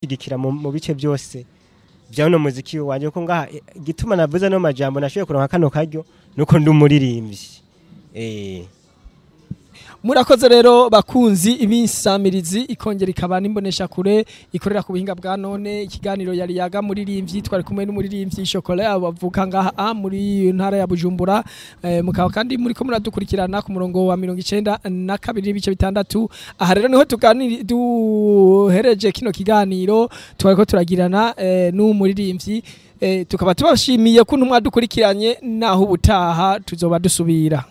Kunshigikira mu bice byose bya uno muziki wanje, ko ngaha igituma navuze no majambo nashoboye kuronka kano karyo nuko ndi umuririmbyi. Murakoze rero bakunzi ibinsamirizi ikongera ikaba n'imbonesha kure ikorera ku buhinga bwa none. Ikiganiro yari yaga muririmbyi, twari kumwe n'umuririmbyi Chocolat abavuka ngaha muri ntara ya Bujumbura. Mukaba kandi muri ko muradukurikirana ku murongo wa 92.6. Aha rero niho tuganiri duhereje kino kiganiro twari ko turagirana n'umuririmbyi. Tukaba tubashimiye ko mwadukurikiranye, naho ubutaha tuzoba dusubira.